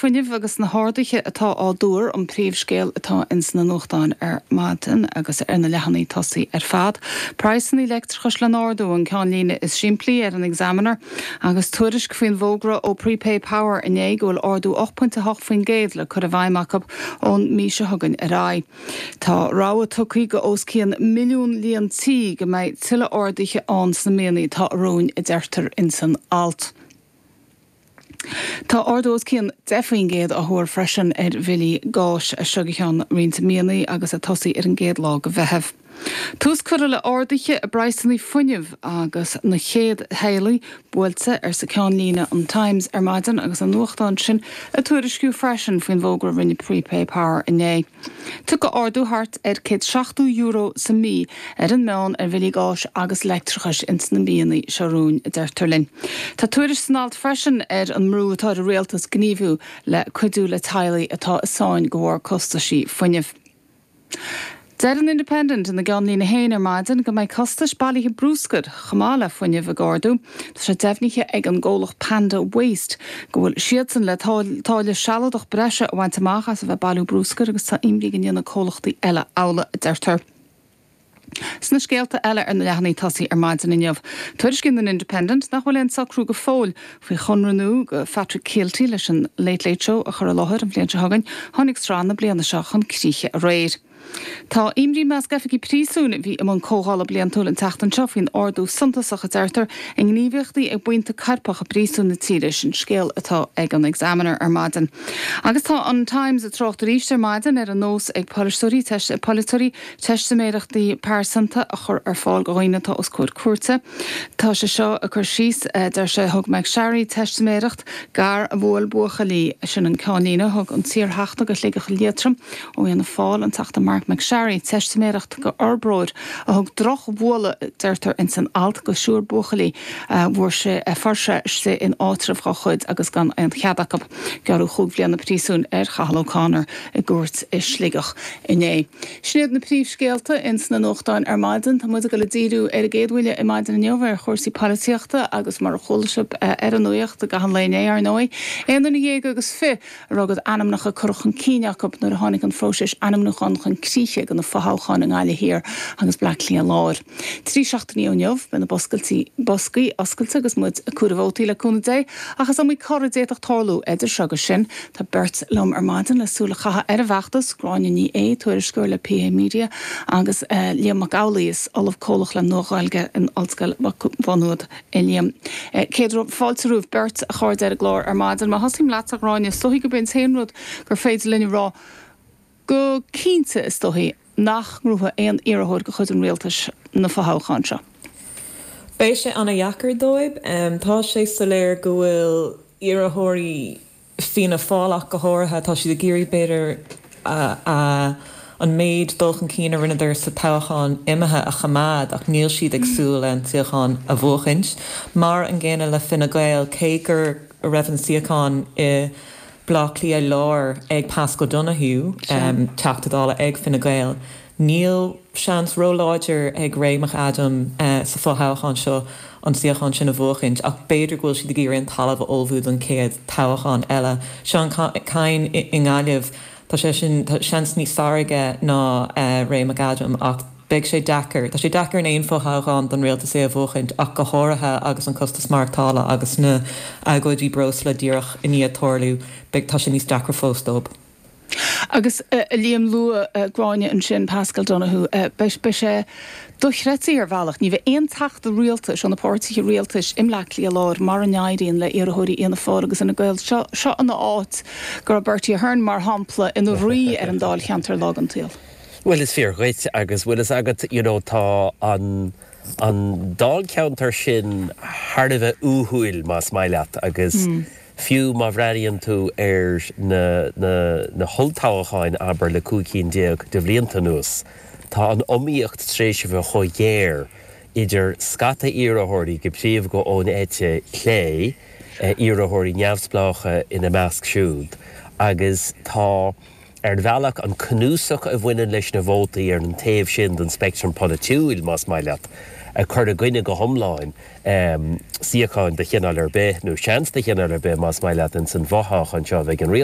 fuinnimh agus na harduithe atá á dtuar an príomhscéal atá ins na nuachtáin ar maidin agus ar na leathanaigh tosaigh ar fad. Praghsanna leictreachais le n-ardú an ceannlíne is simplí ar an Examiner agus tuairisc faoin bhfógra ó Prepay Power inné go bhfuil ardú 8.8% le cur i bhfeidhm acu ón mí seo chugainn ar aghaidh. Tá rabhadh tugtha go os cionn milliún líon tí go mbeidh tuilleadh arduithe ann sna míonna atá romhainn a deirtear ins an alt. Tá ardú os cionn 10% á thuar freisin ar bhillí gáis as seo go ceann roinnt míonna agus ag tosaí ar an gcéad lá de Mheitheamh. Tús curtha le arduithe i bpraghsanna fuinnimh agus na chéad teaghlaigh buailte, arsa ceannlíne an Times ar maidin agus an nuachtán sin ag tuairisciú freisin faoin bhfógra a rinne Prepay Power inné. Tiocfaidh ardú thart ar €170 sa mí ar an meán ar bhillí gáis agus leictreachais ins na míonna seo romhainn, a deirtear linn. Tá tuairisc san alt freisin ar an mbrú atá ar an rialtas gníomhú le cuidiú le teaghlaigh atá i sáinn de bharr costaisí fuinnimh. Deir an Independent ina gceannlíne féin ar maidin go mbeidh costais bailithe brúscair chomh maith le fuinneamh ag ardú. Tá sé deimhnithe ag an gcomhlacht Panda Waste go bhfuil siadsan le táille sealadach breise a bhaint amach as a bheith ag bailiú brúscair agus tá imní go ndéanfaidh comhlachtaí eile amhlaidh, a deirtear. Sna scéalta eile ar na leathanaigh tosaigh ar maidin inniu, tuairiscíonn an Independent nach bhfuil aon socrú go fóill faoi chonradh nua do Phatrick Kielty leis an Late Late Show a chur i láthair an bhliain seo chugainn. Tháinig sraith na bliana seo chun críche aréir. Tá imní i measc oifigigh príosúin a bhí i mbun comhdhála bliantúil an tseachtain seo faoin ardú suntasach, a deirtear, i ngníomhaíochtaí ag buíonta coirpeach i bpríosúin na tíre. Sin scéal atá ag an Examiner ar maidin. Agus tá an Times ag trácht arís ar maidin ar an nós ag polaiteoirí teistiméireachtaí pearsanta a chur ar fáil do dhaoine atá os comhair cúirte. Tá sé seo ag cur síos, deir sé, thug McSharry teistiméireacht, gadhar a bhuail buachaillí. Sin an ceannlíne. Thug an t-iarTheachta do Shligeach Liatroim ó Fhianna Fáil, an Teachta Marc McSharry, teistiméireacht do fhorbróir a thug drochbhualadh, deirtear ins an alt, do thriúr buachaillí a bhfuair sé, a fuair sé istigh in áitreabh dá chuid agus gan aon chead acu. Gearradh chúig bhliana príosúin ar Chathal O'Connor i gcúirt i Sligeach inné. Sin iad na príomhscéalta ins na nuachtáin ar maidin. Tá muid ag dul ag díriú ar an gcéad bhuille ar maidin inniu ar chúrsaí polaitíochta agus mar a chuala sibh ar an nuacht i gcaitheamh an lae inné, ar ndóigh, aon duine dhéag agus fi a raibh a gcuid ainmneacha curtha chun cinn acu nuair a tháinig an phróiseas ainmniúcháin chun críche do na fothoghcháin i nGaillimh Thiar agus Bleá Cliath Láir. Trí seachtainí ó inniu beidh na boscaí oscailte agus muid ag comhaireamh vótaí le cúnamh Dé ach is iomaí cor a d'fhéadfadh tarlú idir seo agus sin. Tá beirt liom ar maidin le súil a chaitheamh ar an bhfeachtas, Gráinne Ní Aodha, tuairisceoir le PA Media agus Liam Mac Amhlaigh, Ollamh Comhlach le Nua-Ghaeilge in Ollscoil Mhá Nuad. A Liam. Céad fáilte romhaibh beirt, a chairde, ar an gclár ar maidin. Má thosaím leatsa, a Ghráinne, is dóichí gurb é an t-aon rud gur féidir linn a rá go cinnte, is dóichí, nach ngnóthóidh aon iarrthóir de chuid an rialtais na fothoghcháin seo. Beidh sé ana-dheacair dóibh. Tá sé soiléir go bhfuil iarrthóirí Fianna Fáil ach go háirithe, tá siad ag iarraidh b'fhéidir an méid dul chun cinn a rinneadar sa toghchán imithe a choimeád ach níl siad ag súil le an suíochán a bhuachaint. Mar an gcéanna le Fine Gael, cé go raibh an suíochán i Bleá Cliath Láir ag Paschal Donohoe, Teachta Dála ag Fine Gael, Níl seans ró-láidir ag Ray McAdam sa fho-thoghchán seo an suíochán sin a bhuachaint ach b'fhéidir go bhfuil siad ag iarraidh an talamh a ullmhú don chéad toghchán eile. Seán Kyne i nGaillimh, tá sé sin, tá seans níos fearr aige ná Ray McAdam ach beidh sé deacair. Tá sé deacair in aon fho-thoghchán don rialtas é a bhuachaint ach go háirithe agus an costas maireachtála agus na agóidí breosla díreach i ndiaidh tarlú, beidh, tá sé níos deacra fós dóibh. Agus a Liam, luaigh Gráinne ansin Paschal Donohoe, beidh sé dochreidte ar bhealach, ní bheidh aon teachta rialtais ó na páirtithe rialtais i mBleá Cliath Láir mara n-éiríonn le iarrthóirí Fhianna Fáil agus Fhine Gael. Seo, seo an áit go raibh Bertie Ahern, mar shampla, ina rí ar an dáilcheantar lá den tsaol. Bhuel, is fíor dhuit agus bhfuil fhios agat, you know, tá an, an dáilcheantar sin thar a bheith uathúil, más maith leat, agus Fiú má bhreathnaíonn tú ar na na holltoghcháin, abair, le 15 cinn de bhlianta anuas, tá an iomaíocht tar éis a bheith chomh géar idir scata iarrthóirí, go príomha ón eite chlé, iarrthóirí neamhspleácha ina measc siúd, agus tá. Ar bhealach, an cnuasach a bhaineann leis na vótaí ar an taobh sin den speictream polaitiúil, más maith leat, ag cur i gcoinne go hiomlán suíocháin de chineál ar bith, nó seans de chineál ar bith, más maith leat, ins an bhfothoghchán seo a bheidh ag an rialtas.